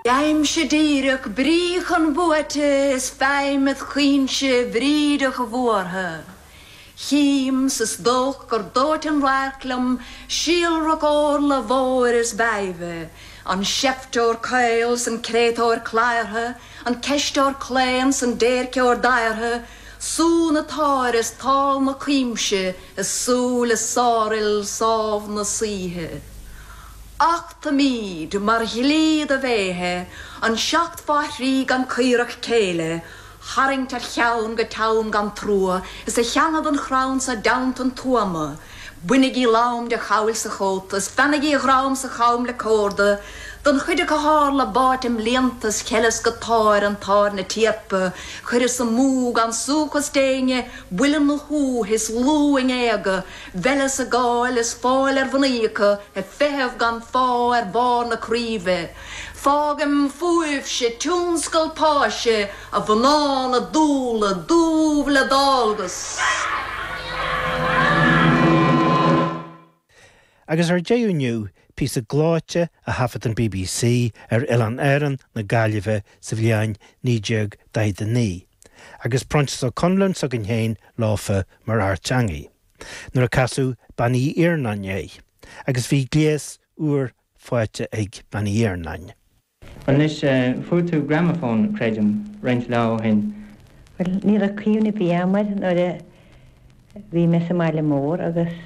Aimse díreach brí chun buaite is feidhm id chaoinse bhrídeach bhuartha. Chím 's is dóich gur dóite an radharc liom síolrach órla mhóir is mheidhbhe, an seifteoir caol 's an créatúr cladhartha, an ceisteoir claon 's an déirceoir daortha, sú na táire 's tál na cuimse i súile sárfhil sámh na saoithe. Achtaimíd, mar dhlí do bhéithe, an seacht fá thrí gan caorach céille tharraingt ar cheann go teann gan trua is a theannadh don chrann so dteannta an tuama. Bainigí lam de chabhail 's a chóta is feannaigí a dhrom 's a cham le córda don chuid acu tharla báite mblianta is cheileas go táir an táir na tíorpa chuireas amú gan suchas d'éinne buille 'na shúth is lúth a ngéaga Bheileas a gcáil is fáil ar mhnaoi acu ag feitheamh gan phá ar bharr na craoibhe. Fágaim fúibhse tionscal páise a mhná na dúla dubh le dálgas. Agus ar deireadh inniu, píosa gleoite a thaifead an bbc ar Oileáin Árann na Gaillimhe sa bhliain 1949, agus Proinsias Ó Conluain s'againn féin leofa mar fhear teangaidh, nuair a casadh Bean Uí Iarnáin é, agus bhí gléas úr faighte ag Bean Uí Iarnáin. Anois, fuair tú gramafón, creidim, roinnt lá ó shin. Bhuel, ní raibh cuimhne ar bith agam air nuair a bhí mé sa mbaile mór agus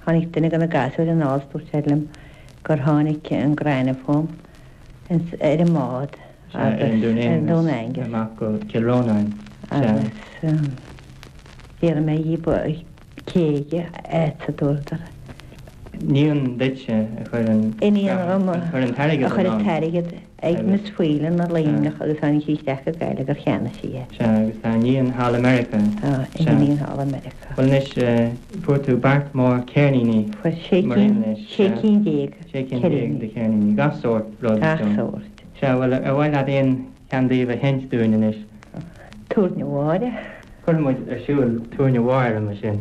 tháinig duine de na gasúir anall is dúirt sé liom gur tháinig an gramafón ar an mbád Sea, ar an Dún Aengus. Dún Aengus. Amach go Cill Rónáin. Sea. Agus d'fhiafraigh mé dhíob cé aige é a dúradar. Iníon duitse a chuir an Iníon dhom a chuir an t-airgead a chuir an t-airgead ag Miss Whelan i Luimneach agus tháinig sí isteach go Gaillimh gur cheannaigh sí é. Sea, agus tá iníon thall i Meiriceá. Tá iníon thall i Meiriceá. Bhuel anois, fuair tú beart mór ceirníní Fuair sé mar aon leis. sé cinn déag Sé cinn déag de cheirníní, gach sórt rud. Gach sórt. Sea, bhuel, ar mhaith leat aon cheann díobh a sheinnt dúinn anois? Túirne Mháire. Cuirfidh muid ar siúl Túirne Mháire mar sin.